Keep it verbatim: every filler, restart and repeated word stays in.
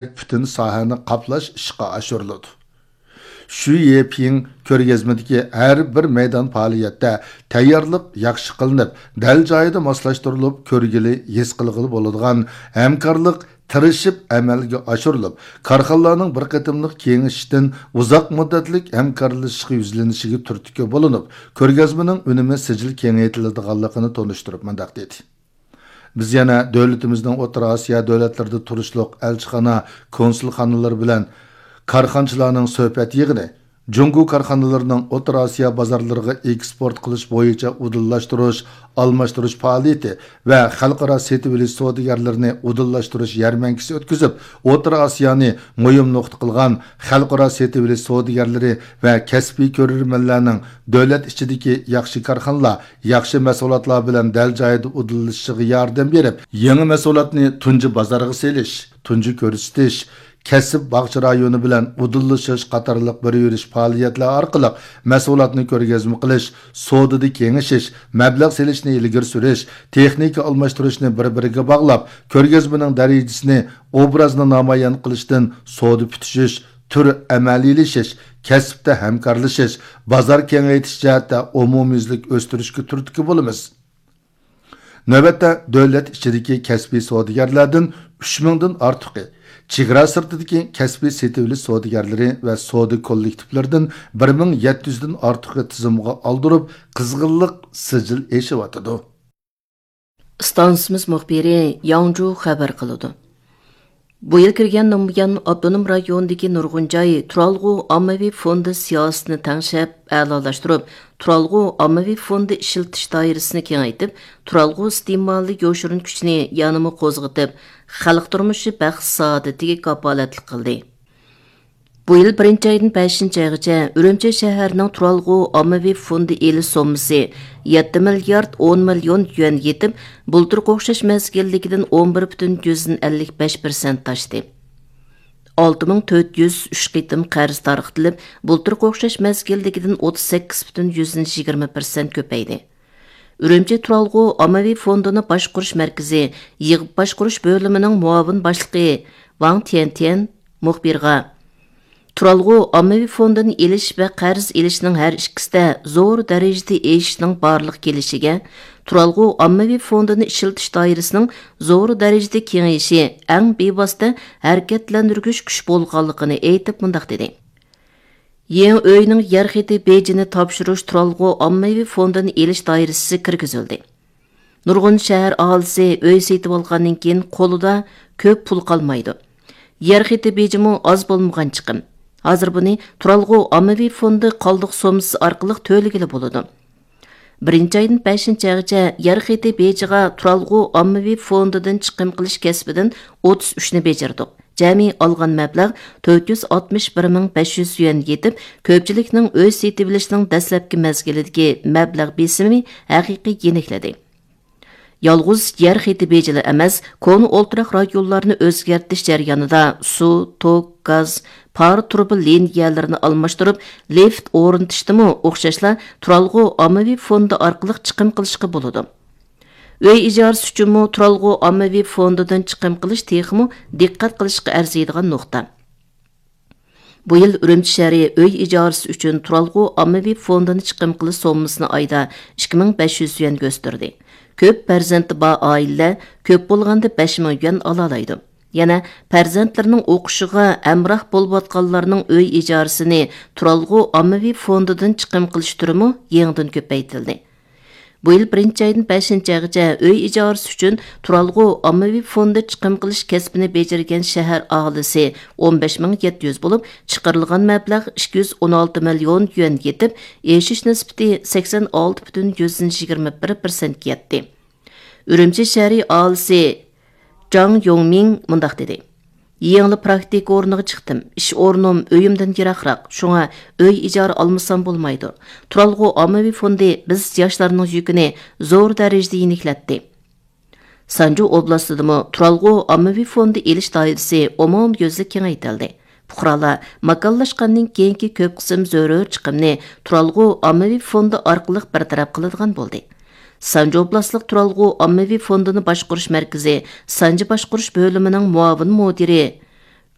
پۈتۈن ساھەنى قاپلاش ئىشقا ئاشۇرۇلىدۇ. شۈيېپىڭ كۆرگەزمىدىكى ھەر بىر مەيدان پائالىيەتتە تەييارلىق ياخشى قىلىنىپ، دەل جايىدا ماسلاشتۇرۇلۇپ، كۆرگىلى، ھېس قىلغىلى بولىدىغان ھەمكارلىق تىرىشىپ ئەمەلگە ئاشۇرۇلۇپ، كارخانىلارنىڭ بىر قېتىملىق كېڭىشىشتىن ئۇزاق مۇددەتلىك ھەمكارلىشىشقا يۈزلىنىشىگە تۈرتكە بولۇنۇپ، كۆرگەزمىنىڭ ئۈنۈمى سىجىل كېڭەيتىلىدىغانلىقىنى تونۇشتۇرۇپ مۇنداق دېدى. بىز يەنە دۆلىتىمىزنىڭ ئوتتۇرا ئاسىيا دۆلەتلىرىدە تۇرۇشلۇق ئەلچىخانا، كونسۇلخانىلىرى بىلەن كارخانىچىلارنىڭ سۆھبەت يىغىنى، جۇڭگو كارخانىلىرىنىڭ ئوتتۇرا ئاسىيا بازارلىرىغا ئېكسپورت قىلىش بويىچە ئۇدۇللاشتۇرۇش، ئالماشتۇرۇش پائالىيىتى ۋە خەلقئارا سېتىۋېلىش سودىگەرلىرىنى ئۇدۇللاشتۇرۇش يەرمەنكىسى ئۆتكۈزۈپ، ئوتتۇرا ئاسىيانى مۇھىم نۇقتا قىلغان خەلقئارا سېتىۋېلىش سودىگەرلىرى ۋە كەسپىي كۆرۈرمەنلەرنىڭ دۆلەت ئىچىدىكى ياخشى كارخانىلار، ياخشى مەھسۇلاتلار بىلەن دەل جايىدا ئۇدۇللىشىشىغا ياردەم بېرىپ، يېڭى مەھسۇلاتنى تۇنجى بازارغا سېلىش، تۇنجى كۆرسىتىش، كەسىپ باغچە رايونى بىلەن ئۇدۇللىشىش قاتارلىق بىر يۈرۈش پائالىيەتلەر ئارقىلىق مەھسۇلاتنى كۆرگەزمە قىلىش، سودىدا كېڭىشىش، مەبلەغ سېلىشنى ئىلگىرى سۈرۈش، تېخنىكا ئالماشتۇرۇشنى بىر-بىرىگە باغلاپ، كۆرگەزمىنىڭ دەرىجىسىنى، ئوبرازنى نامايان قىلىشتىن سودا پۈتۈشۈش، تۈر ئەمەلىيلىشىش، كەسىپتە ھەمكارلىشىش، بازار كېڭەيتىش جەھەتتە ئومۇميۈزلۈك ئۆستۈرۈشكە تۈرتكە بولىمىز. نۆۋەتتە دۆلەت ئىچىدىكى كەسپىي سودىگەرلەردىن ئۈچ مىڭدىن ئارتۇقى، چېگرا سىرتىدىكى كەسپىي سېتىۋېلىش سودىگەرلىرى ۋە سودا كوللېكتىپلىرىدىن بىر مىڭ يەتتە يۈزدىن ئارتۇقى تىزىمغا ئالدۇرۇپ، قىزغىنلىق سىجىل ئېشىۋاتىدۇ. ئىستانسىمىز مۇخبىرى ياڭجۇ خەۋەر قىلىدۇ. بۇ يىل كىرگەندىن بۇيان، ئاپتونوم رايوندىكى نۇرغۇن جاي تۇرالغۇ ئاممىۋى فوندى سىياسىتىنى تەڭشەپ، ئەلالاشتۇرۇپ، تۇرالغۇ ئاممىۋى فوندى ئىشلىتىش دائىرىسىنى كېڭەيتىپ، تۇرالغۇ ئىستېمالى يوشۇرۇن كۈچىنى يەنىمۇ قوزغىتىپ، خەلق تۇرمۇشى بەخت سائادىتىگە كاپالەتلىك قىلدى. بۇ يىل بىرىنچى ئايدىن بەشىنچى ئايغىچە ئۈرۈمچى شەھىرىنىڭ تۇرالغۇ ئاممىۋى فوندى ئېلىش سوممىسى يەتتە مىليارد ئون مىليون يۈەن يېتىپ، بۇلتۇرقى ئوخشاش مەزگىلدىكىدىن ئون بىر پۈتۈن يۈزدىن ئەللىك بەش پىرسەنت ئاشتى. ئالتە مىڭ تۆت يۈز ئۈچ قېتىم قەرز تارقىتىلىپ، بۇلتۇرقى ئوخشاش مەزگىلدىكىدىن ئوتتۇز سەككىز پۈتۈن يۈزدىن يىگىرمە پىرسەنت كۆپەيدى. ئۈرۈمچى تۇرالغۇ ئاممىۋى فوندىنى باشقۇرۇش مەركىزى يىغىپ باشقۇرۇش بۆلۈمىنىڭ مۇئاۋىن باشلىقى ۋاڭ تيەنتيەن مۇخبىرغا، تۇرالغۇ ئاممىۋى فوندىنى ئېلىش ۋە قەرز ئېلىشنىڭ ھەر ئىككىسىدە زور دەرىجىدە ئېشىشنىڭ بارلىققا كېلىشىگە، تۇرالغۇ ئاممىۋى فوندىنى ئىشلىتىش دائىرىسىنىڭ زور دەرىجىدە كېڭىيىشى ئەڭ بىۋاسىتە ھەرىكەتلەندۈرگۈچ كۈچ بولغانلىقىنى ئېيتىپ مۇنداق دېدى. يېڭى ئۆينىڭ يەر خېتى بېجىنى تاپشۇرۇش تۇرالغۇ ئاممىۋى فوندىنى ئېلىش دائىرىسىگە كىرگۈزۈلدى. نۇرغۇن شەھەر ئاھالىسى ئۆي سېتىۋالغاندىن كېيىن قولىدا كۆپ پۇل قالمايدۇ. يەر خېتى بېجىمۇ ئاز بولمىغان چىقىم. ھازىر بۇنى تۇرالغۇ ئاممىۋى فوندى قالدۇق سوممىسى ئارقىلىق تۆلىگىلى بولىدۇ. بىرىنچى ئايدىن بەشىنچى ئايغىچە يەر خېتى بېجىغا تۇرالغۇ ئاممىۋى فوندىدىن چىقىم قىلىش كەسپىدىن ئوتتۇز ئۈچنى بېجىردۇق. جەمئىي ئالغان مەبلەغ تۆت يۈز ئاتمىش بىر مىڭ بەش يۈز يۈەن يېتىپ، كۆپچىلىكنىڭ ئۆي سېتىۋېلىشنىڭ دەسلەپكى مەزگىلىدىكى مەبلەغ بېسىمى ھەقىقىي يېنىكلىدى. يالغۇز يەر خېتى بېجىلا ئەمەس، كونا ئولتۇراق رايونلارنى ئۆزگەرتىش جەريانىدا سۇ، توك، گاز، پارە تۇرۇبا لىنىيەلىرىنى ئالماشتۇرۇپ، لىفت ئورنىتىشتىمۇ ئوخشاشلا تۇرالغۇ ئاممىۋى فوندى ئارقىلىق چىقىم قىلىشقا بولىدۇ. ئۆي ئىجارىسى ئۈچۈنمۇ تۇرالغۇ ئاممىۋى فوندىدىن چىقىم قىلىش تېخىمۇ دىققەت قىلىشقا ئەرزىيدىغان نۇقتا. بۇ يىل ئۈرۈمچى شەھىرى ئۆي ئىجارىسى ئۈچۈن تۇرالغۇ ئاممىۋى فوندىنى چىقىم قىلىش سوممىسىنى ئايدا ئىككى مىڭ بەش يۈز يۈەنگە ئۆستۈردى. كۆپ پەرزەنتى بار ئائىلىلەر كۆپ بولغاندا بەش مىڭ يۈەن ئالالايدۇ. يەنە پەرزەنتلىرىنىڭ ئوقۇشىغا ھەمراھ بولۇۋاتقانلارنىڭ ئۆي ئىجارىسىنى تۇرالغۇ ئاممىۋى فوندىدىن چىقىم قىلىش تۈرىمۇ يېڭىدىن كۆپەيتىلدى. بۇ يىل بىرىنچى ئايدىن بەشىنچى ئايغىچە ئۆي ئىجارىسى ئۈچۈن تۇرالغۇ ئاممىۋى فوندى چىقىم قىلىش كەسپىنى بېجىرگەن شەھەر ئاھالىسى ئون بەش مىڭ يەتتە يۈز بولۇپ، چىقىرىلغان مەبلەغ ئىككى يۈز ئون ئالتە مىليون يۈەن يېتىپ، ئېشىش نىسبىتى سەكسەن ئالتە پۈتۈن يۈزدىن يىگىرمە بىر پىرسەنتكە يەتتى. ئۈرۈمچى شەھىرى ئاھالىسى جاڭ يوڭمىڭ مۇنداق دېدى: يېڭىلا پراكتىكا ئورنىغا چىقتىم. ئىش ئورنۇم ئۆيۈمدىن يىراقراق، شۇڭا ئۆي ئىجارە ئالمىسام بولمايدۇ. تۇرالغۇ ئاممىۋى فوندى بىز ياشلارنىڭ يۈكىنى زور دەرىجىدە يېنىكلەتتى. سانجۇ ئوبلاستىدىمۇ تۇرالغۇ ئاممىۋى فوندى ئېلىش دائىرىسى ئومۇميۈزلۈك كېڭەيتىلدى. پۇقرالار ماكانلاشقاندىن كېيىنكى كۆپ قىسىم زۆرۈر چىقىمنى تۇرالغۇ ئاممىۋى فوندى ئارقىلىق بىر تەرەپ قىلىدىغان بولدى. سانجى ئوبلاستلىق تۇرالغۇ ئاممىۋى فوندىنى باشقۇرۇش مەركىزى سانجى باشقۇرۇش بۆلۈمىنىڭ مۇئاۋىن مۇدىرى